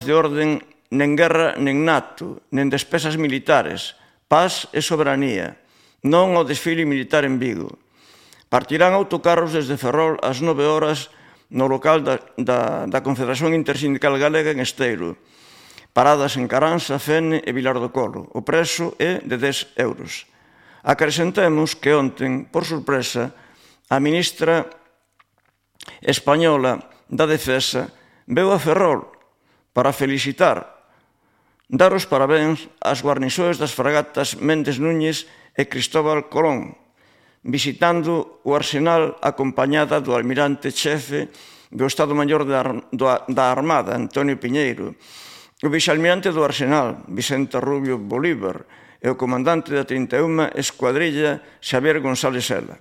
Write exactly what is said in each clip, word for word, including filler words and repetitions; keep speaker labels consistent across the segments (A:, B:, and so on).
A: de orden nen guerra nen NATO, nen despesas militares, paz e soberanía, non ao desfile militar en Vigo. Partirán autocarros desde Ferrol ás nove horas no local da, da, da Confederación Intersindical Galega en Esteiro, paradas en Caranza, Fene e Vilar do Colo. O prezo é de dez euros. Acrescentemos que onten, por sorpresa, a ministra española da Defensa veu a Ferrol para felicitar, dar os parabéns ás guarniçoes das fragatas Méndez Núñez e Cristóbal Colón, visitando o arsenal acompañada do almirante chefe do Estado Maior da Armada, Antonio Piñeiro, o vicealmirante do arsenal, Vicente Rubio Bolívar, e o comandante da trinta e unha Escuadrilla, Xavier González Sela.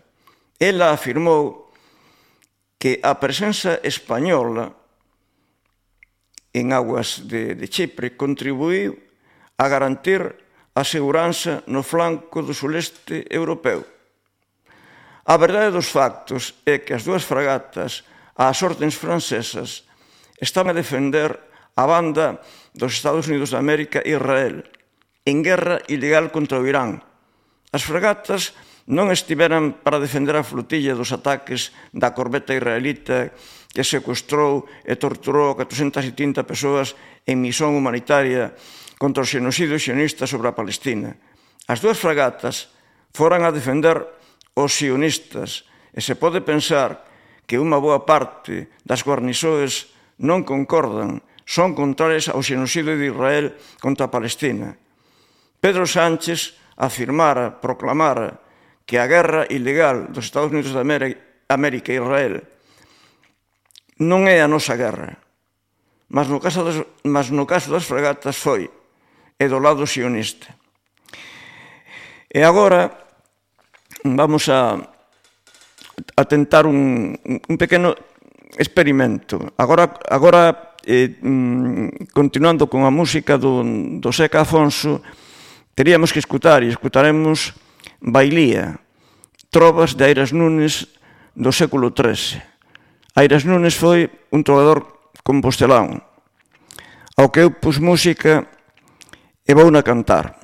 A: Ela afirmou que a presenza española en aguas de, de Chipre contribuiu a garantir a seguranza no flanco do suleste europeu. A verdade dos factos é que as dúas fragatas, ás ordes francesas, están a defender a banda dos Estados Unidos de América e Israel en guerra ilegal contra o Irán. As fragatas non estiveran para defender a flotilla dos ataques da corbeta israelita que secuestrou e torturou a catrocentas setenta persoas en misión humanitaria contra o xenocidio sionista sobre a Palestina. As dúas fragatas foran a defender os sionistas e se pode pensar que unha boa parte das guarniçoes non concordan, son contrarias ao xenocidio de Israel contra a Palestina. Pedro Sánchez afirmara, proclamara que a guerra ilegal dos Estados Unidos de América e Israel non é a nosa guerra, mas no caso das, mas no caso das fragatas foi, e do lado sionista. E agora vamos a, a tentar un, un pequeno experimento. Agora, agora eh, continuando con a música do, do Seca Afonso, teríamos que escutar, e escutaremos Bailía, trovas de Airas Núñez do século trece. Airas Núñez foi un trovador compostelán, ao que eu pus música e vou na cantar.